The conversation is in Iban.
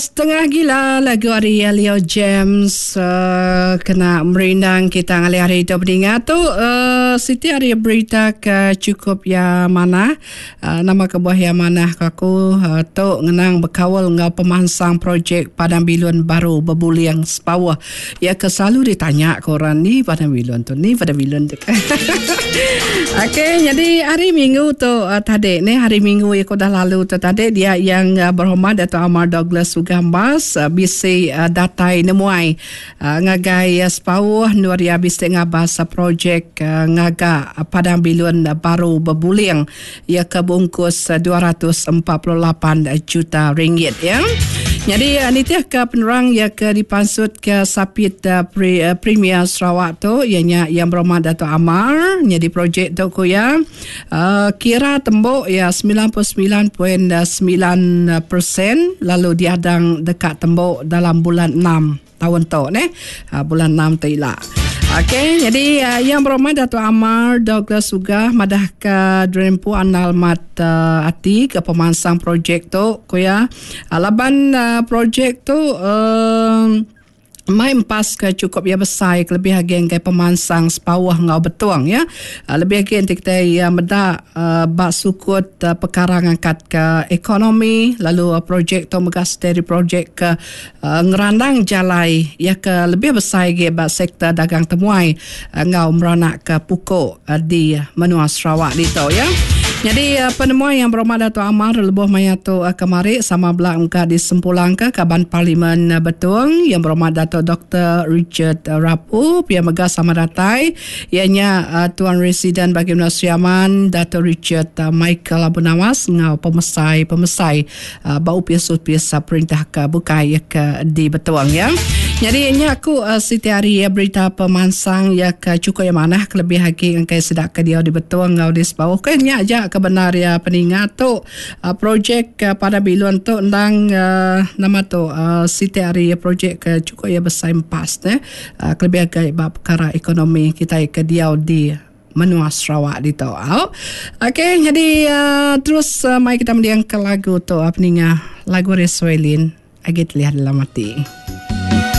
Setengah gila lagu ari Leo James uh, kena merindang kita ngalih hari tu peninga tu uh, siti ari berita ke cukup ya manah uh, nama kebuah ya manah ke aku uh, tu ngenang bekaul enggau pemansang projek Padang Bilun baru Bebuling Sepauh ya ke selalu ditanya ke orang ni Padang Bilun tu ni Padang Bilun tu. Okey, jadi hari Minggu tu uh, tadi ni hari Minggu yang udah lalu tu tadi dia yang uh, berhormat Dato Amar Douglas Ugambas uh, bisi uh, datai nemuai uh, ngagai uh, Sepauh endur iya bisi ngabas uh, projek uh, ngaga uh, Padang Bilun uh, baru Bebuling iya ke bungkus uh, 248 juta ringgit ya. Jadi uh, nitih ke penerang iya ke dipansut ke sapit uh, pre, uh, Premier Sarawak tu iya nya Yang Berhormat Dato Amar nyadi projek tu ku iya uh, kira tembu iya 99.9% lalu diadang deka tembu dalam bulan 6 taun tu neh bulan 6 tu ila. Okey jadi uh, Yang Berhormat Dato Amar Douglas Uggah madah ke Drempu andal mat uh, ati ke pemansang projek tu ku iya uh, laban uh, projek tu uh, mai empas ke chukup iya besai kelebih agi enggai pemansang Sepauh enggau Betong ya. Lebih agi enti kitai iya meda ba sukut pekara ngangkatka ekonomi lalu projek tu mega siti ari projek ke ngerandang jalai iya ke lebih besai agi ba sektor dagang temuai enggau meranakka puku di menua Sarawak ditu ya. Nyadi penemuai Yang Berhormat Datuk Amar lebuh maya tu kemari sama bela mega disempulangka Kaban Parlimen Betong Yang Berhormat Datuk Doktor Richard Rapu pia mega sama datai iya nya Tuan Residen Bagi Menua Sri Aman Datuk Richard Michael Abu Nawas enggau pemesai-pemesai ba opis-opis perintah ke bukai iya ke di Betong ya. Nyadi nya aku siti ari berita pemansang iya ke chukup iya manah kelebih agi engkai sida ke diau di Betong enggau di Sebauh ke nya aja ke bendar iya peninga tu projek Padang Bilun tu endang nama tu siti ari projek ke chukup iya besai empas neh kelebih agi ba pekara ekonomi kitai ke diau di menua Sarawak ditu. Au. Okey, jadi uh, terus uh, mai kita mending ke lagu tu uh, peninga lagu Reswelin agi telihat dalam hati.